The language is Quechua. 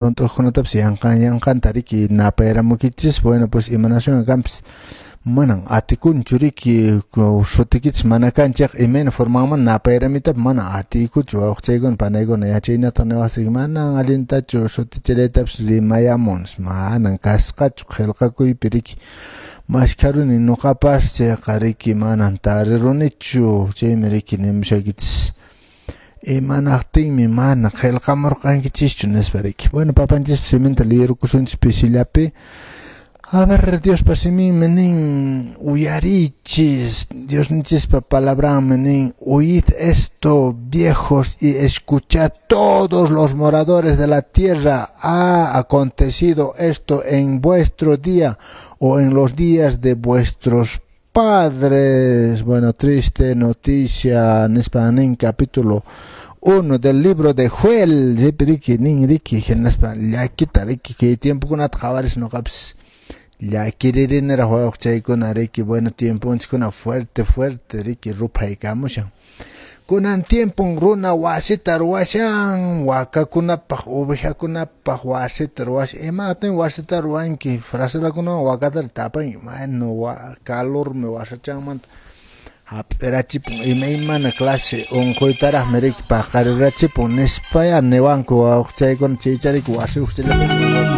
Hunt'uqkunatapas yanqan yanqanta riki napayramukichis. Bueno, pues imanaswan kanpis manan atikunchu riki sutikichis mana kanchaq imayna formanman napayramitapas mana atiykuchu wawqichaykuna panaykuna yachaynata niwaqsiki manan allintachu sutichaytapas rimayamun manan kasqachu qillqakuypi riki maskharuni nuqapas chayqa riki manan tarirunichu chaymi riki nimushaykichis imanaqtinmi mana qillqamurqankichischu nispa riki. Bueno, papanchispa siminta liyirukusunchis pisillapi. A ver, Diospa siminmi nin uyarichis, Diosninchispa palabranmi nin oíd esto, viejos, y escuchad todos los moradores de la tierra. Ha acontecido esto en vuestro día o en los días de vuestros padres. Bueno, triste noticia, nispa nin capítulo 1 del libro de Joel. Riki nin riki hinaspa llakita riki kay tiempokunata qhawaris nuqapis llakiririniraq wawqichaykuna riki. Bueno, tiemponchiskuna fuerte fuerte riki ruphaykamushan. Kunan tiempon runa wasita ruwashan wakakunapaq ovejakunapaq wasita ruwashan. Imatin wasita ruwanki fraselakunawan wakata tapanki bueno calormi wasachanmanta hap'irachipun imaymana clase unquytaraqmi riki paqarirachipun nispaya niwanku wawqichaykuna chaycha riki wasi.